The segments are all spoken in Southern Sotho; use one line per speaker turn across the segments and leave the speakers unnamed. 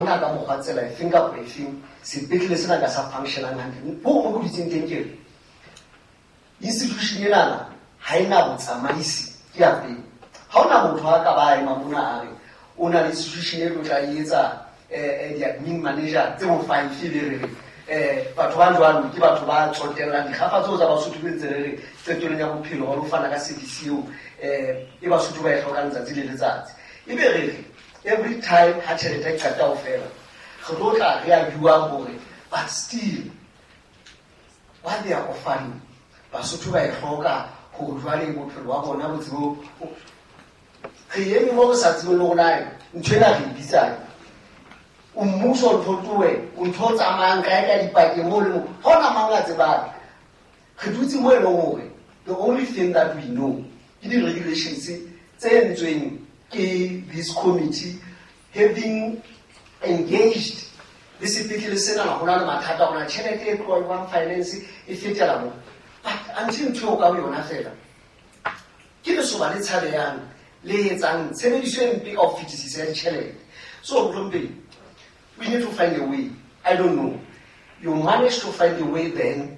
Hona ka mokgwa tsela efeng kapa efeng sepetlele sena ka sa functionang hantle. Ho mo dutseng teng ke re institution enana ha ena botsamaisi, ke ya pele. Ha hona motho a ka ba ema mona a re o na le institution e tlo tla e etsa di-admin manager tse bo 5, e be re re batho ba jwalo ke batho ba tsotellang dikgafa tseo tsa Basotho, be ntse re re qetellong ya bophelo ba lo fana ka service eo e Basotho ba e hlokang letsatsi le letsatsi. E be re re every time ha tjhelete e qeta ho fela, re tlo tla re a bua hore but still what they are offering Basotho ba e hloka hore jwale bophelo ba bona bo tsebo. Re eme mo re sa tsebeng le rona ntho ena re e bitsang o mmuso, ntho towe, o ntho o tsamayang kae ka dipakeng mo le mo, ha ona mang a tsebang. Re dutse mo e leng hore the only thing that we know ke di-regulations tse entsweng ke this committee having engaged le sepetlele sena. Ho na le mathata hona tjhelete e tlohang finance e fetela mo, but until ntho eo ka bo yona fela ke lesoba le tshabeyang le etsang tshebediso e mpe ka ho fetisisa ya ditjhelete. So mohlomphehi, we need to find a way. I don't know, you managed to find a way, then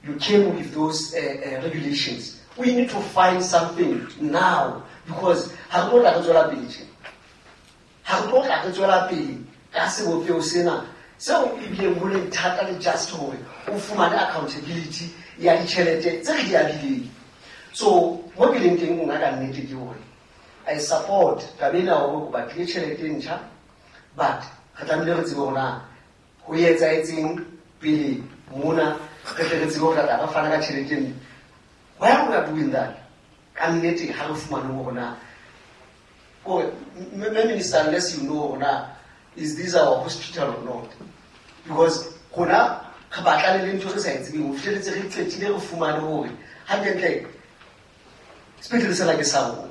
you came with those regulations. We need to find something now because ha re tlo tla re tswela pele tje, ha re tlo tla re tswela pele ka sebopeho sena seo ebileng ho leng thata le just hore o fumane accountability ya ditjhelete tse re di abileng. So mo ke leng teng nna ka nnete ke hore I support taba ena hore o batlile tjhelete e ntjha, but re tlamehile re tsebe hore na ho etsahetseng pele mona, re tle re tsebe hore tla re fana ka tjhelete eno. While we are doing that, ka nnete ha re fumane hore na kore minister, unless you know hore na is this our hospital or not, because rona re batlane le ntho re sa e tsebeng ho fihleletse re qetile re fumane hore hantlentle sepetlele sena ke sa rona,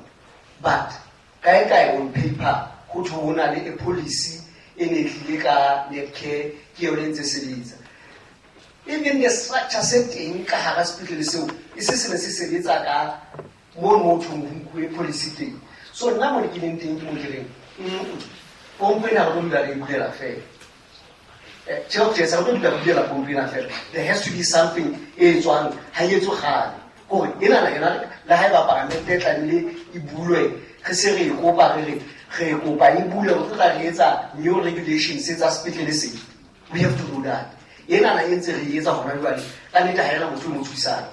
but kae kae on paper ho thwe ho na le a policy e ne tlile ka Netcare, ke yone e ntse sebetsa. Even the structure se teng ka hara sepetlele seo e se se ne se sebetsa ka mono mo thong ho nkuwe policy teng. So nna mo ke leng teng ke mo ke reng pompo ena re tlo dula re e bulela fela. Tjhe, re tlo dula re bulela pompo ena fela. There has to be something e tswang, ha e etswe kgale kore enana yona le ha eba paramente e tlamehile e bulwe, re se re e kopa, re re re kopa e bulwe, re tlo tla re etsa new regulations tsa sepetlele se. We have to do that. Enana e ntse re e etsa hona jwale, ka nnete ha ena motho e mo thusang.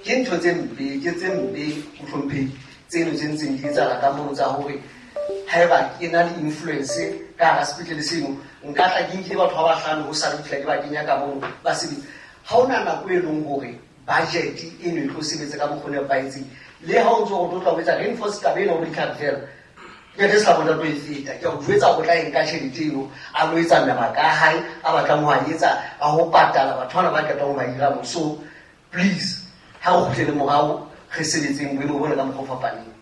Ke ntho tse mpe, ke tse mpe, mohlomphehi, tseno tse ntseng di etsahala ka mono tsa hore haeba ke na le influence ka hara sepetlele seno, nka tla ke nkile batho ba bahlano ho sa le fihla ke ba kenya ka mono ba sebetsa. Ha hona nako e leng hore budget eno e tlo sebetsa ka mokgwa o nepahetseng. Le ha o ntso o tlo tla o etsa reinforce taba ena o ditlhapi fela, ke se la tlo e feta. Ke a o jwetsa o tla e nka tjhelete eno a lo etsa mabaka a hae a batlang ho a etsa a ho patala batho bana ba qetang ho ba hira mo. So please, ha re kgutlele morao, re sebetseng boemo bona ka mokgwa o fapaneng.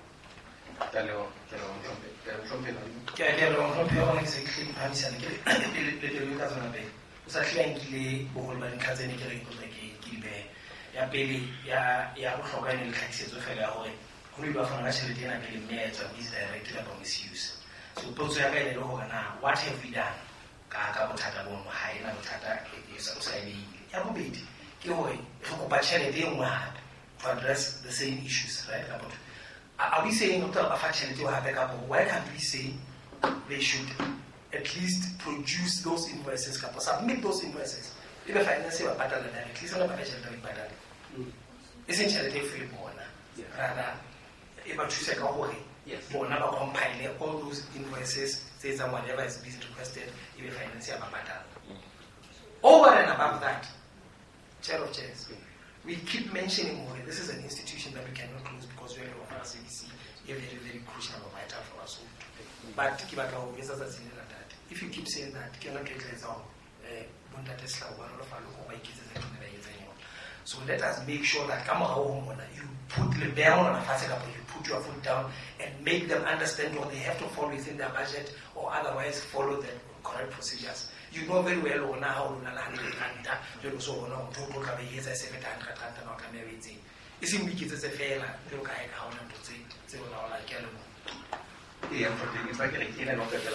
Ke a leboha, mohlomphehi. Wa bona, ke se ke hle diphahamisane ke pele pele ka tsona pele o sa hlile a nkile boholo ba dintlha tse ne ke re ke tla ke di behe. Ya pele ya bohlokwa e ne le tlhakisetso fela ya hore ho no ile wa fana ka tjhelete ena pele mme ya etswa misdirect kapa misuse. So potso ya ka e ne le hore na what have we done ka bothata bono? Ha ena bothata e o sa e behile. Ya bobedi ke hore re kopa tjhelete e nngwe hape to address the same issues, right? Kapa are we saying re tla ba fa tjhelete eo hape, kapa why can't we say they should at least produce those invoices kapa submit those invoices, ebe finance e ba patala directly, se ba ka tjhelete ba ipatale, e seng tjhelete e fuwe bona, rather e ba thuse ka hore bona ba compile all those invoices tse etsang whatever is being requested, ebe finance ya ba patala? Over and above that, chair of chairs, we keep mentioning hore this is an institution that we cannot close because we are offer service e very, very crucial or vital for us all. But ke batla ho etsa tsatsing le ntate, if you keep saying that, ke yona ntho e tla etsa hore bontate Sehlao ba nolofale hore ba iketsetse ntho e ba etsang yona. So let us make sure that ka morao ho mona you put le beha monwana fatshe kapa you put your foot down and make them understand what they have to follow within their budget or otherwise follow the correct procedures. You know very well hore na ha o lona le 100 ranta, jwale o so bona hore ntho o tlo tla ba e etsa e se feta 100 ranta, na o tlameha o etseng, e seng o iketsetse fela jwalo ka ha e ka ha ona ntho tse o laolang. Ke a leboha.
Eya, mohlomphehi, ke tla ke re ke ena le ho qetela.